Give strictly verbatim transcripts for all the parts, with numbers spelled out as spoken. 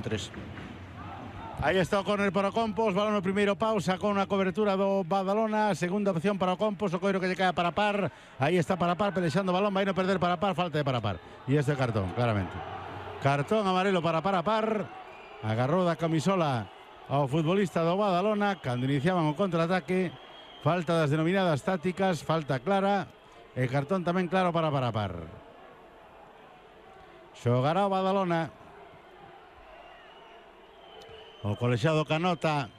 tres. Aí está o córner para o Compos, balón no primeiro pau, sacou unha cobertura do Badalona, segunda opción para o Compos, o coiro que lle cae para par, aí está para par, pelexando o balón, vai non perder para par, falta de para par, e este cartón, claramente. Cartón amarelo para para par, agarrou da camisola ao futbolista do Badalona, cando iniciaban o contraataque, falta das denominadas tácticas, falta clara, e cartón tamén claro para para par. Xogará o Badalona. O colexiado canota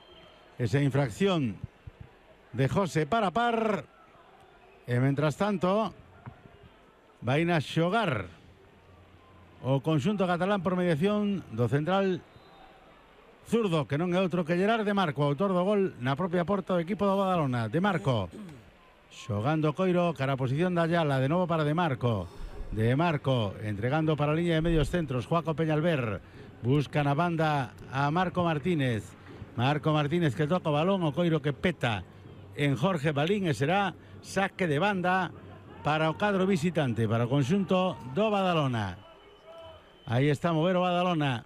esa infracción de José para par. E mentras tanto vai na xogar o conxunto catalán por mediación do central zurdo, que non é outro que Gerard de Marco, autor do gol na propia porta do equipo do Badalona. De Marco xogando coiro cara a posición da Ayala, de novo para De Marco. De Marco entregando para a liña de medios centros, Joaco Peñalver. Buscan a banda a Marco Martínez. Marco Martínez que toca o balón, o coiro que peta en Jorge Balín, e será saque de banda para o cadro visitante, para o conxunto do Badalona. Aí está a mover o Badalona.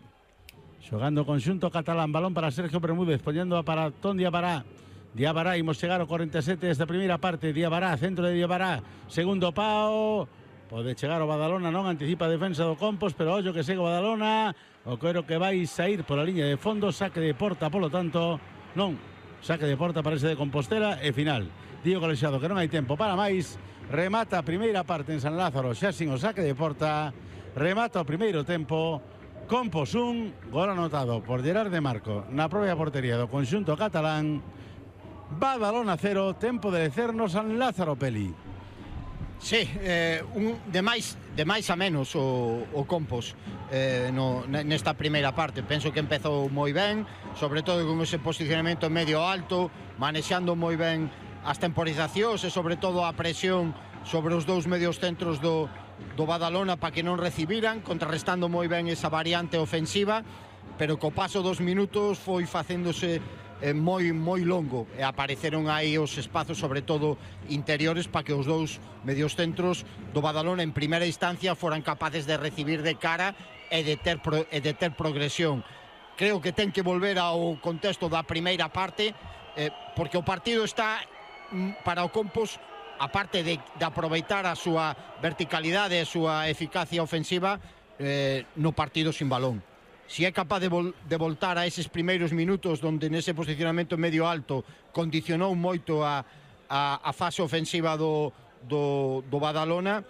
Xogando o conxunto catalán, balón para Sergio Bermúdez, poñendo para Ton Diabará. Diabará, imos chegar ao cuarenta e sete desta primeira parte. Diabará, centro de Diabará, segundo pau. Pode chegar o Badalona, non anticipa a defensa do Compos, pero ollo que segue o Badalona. O coiro que vai sair pola liña de fondo, saque de porta, polo tanto, non, saque de porta parece de Compostela e final. Dío colexiado que non hai tempo para máis, remata a primeira parte en San Lázaro, xa sin o saque de porta, remata o primeiro tempo, Compos un, gol anotado por Gerard de Marco na propia portería do conxunto catalán. Badalona cero, tempo de Lecerno San Lázaro, Peli. Sí, eh, un, de, máis, de máis a menos o, o Compos eh, no, nesta primeira parte. Penso que empezou moi ben, sobre todo con ese posicionamento medio alto, manexando moi ben as temporizacións e sobre todo a presión sobre os dous medios centros do, do Badalona para que non recibiran, contrarrestando moi ben esa variante ofensiva, pero co paso dos minutos foi facéndose Eh, moi moi longo e apareceron aí os espazos, sobre todo interiores, para que os dous medios centros do Badalona en primeira instancia foran capaces de recibir de cara e de ter, pro, e de ter progresión. Creo que ten que volver ao contexto da primeira parte, eh, porque o partido está para o Compos, aparte de, de aproveitar a súa verticalidade e a súa eficacia ofensiva, eh, no partido sin balón. Si é capaz de, vol de voltar a eses primeiros minutos donde nese posicionamento medio alto condicionou moito a, a, a fase ofensiva do, do, do Badalona,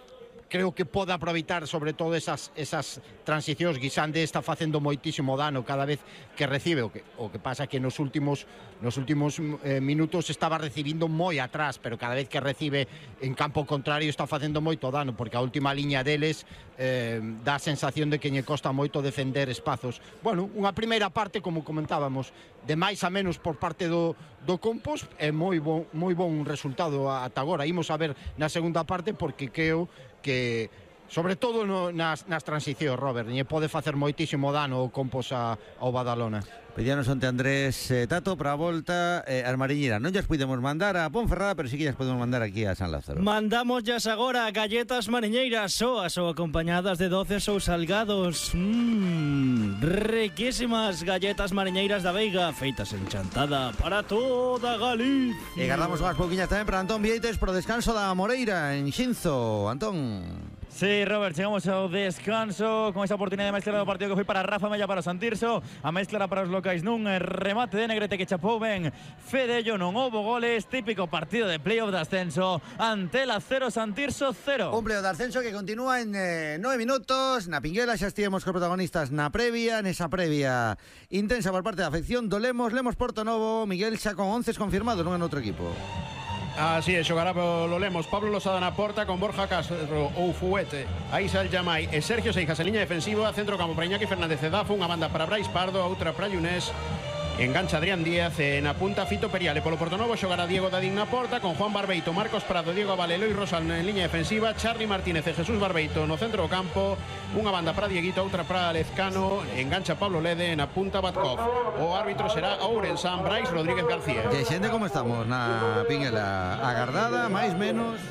creo que pode aproveitar sobre todo esas, esas transicións. Guisande está facendo moitísimo dano cada vez que recibe, o que, o que pasa que nos últimos, nos últimos eh, minutos estaba recibindo moi atrás, pero cada vez que recibe en campo contrario está facendo moito dano, porque a última liña deles eh, dá a sensación de que lle costa moito defender espazos. Bueno, unha primeira parte, como comentábamos, de máis a menos por parte do, do Compos, é moi bon, moi bon resultado ata agora. Imos a ver na segunda parte, porque creo que sobre todo no, nas, nas transicións, Robert, lle pode facer moitísimo dano o Compos a, ao Badalona. Pedíanos onte Andrés eh, Tato para a volta eh, as mariñeiras. Non llas podemos mandar a Ponferrada, pero sí que llas podemos mandar aquí a San Lázaro. Mandamos llas agora galletas mariñeiras, soas ou acompañadas de doces ou salgados. Mmm, riquísimas galletas mariñeiras da Veiga, feitas en Chantada para toda Galicia. E guardamos unhas pouquiñas tamén para Antón Vieites pro descanso da Moreira en Xinzo. Antón. Sí, Robert, chegamos ao descanso con esa oportunidade máis clara do partido que foi para Rafa Mella, para o Santirso, a máis clara para os locais nun remate de Negrete que chapou ben Fedello, non houbo goles, típico partido de playoff de ascenso, Antela cero, Santirso cero. Un playoff de ascenso que continúa en eh, nove minutos, na Pinguela xa estivemos cos protagonistas na previa, nesa previa intensa por parte da afección do Lemos, Lemos Porto Novo, Miguel xa con once confirmados, non en outro equipo. Así é, xogará polo Lemos Pablo Losada na porta con Borja Castro ou Fuete, Aisal Yamai e Sergio Seijas en liña defensiva, centro campo para Iñaki Fernández Edafo, unha banda para Brais Pardo, outra para Yunés, engancha Adrián Díaz e na punta Fito Periale. Polo Portonovo xogará Diego Dadín na porta con Juan Barbeito, Marcos Prado, Diego Abal, Eloi Rosal en liña defensiva, Charly Martínez e Jesús Barbeito no centro do campo, unha banda para Dieguito, outra para Lezcano, engancha Pablo Lede, na punta Batkov. O árbitro será Ourensan, Brais Rodríguez García. E xente, como estamos na Pinguela? Agardada, máis menos?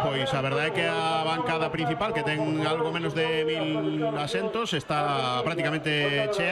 Pois a verdade é que a bancada principal, que ten algo menos de mil asentos, está prácticamente chea.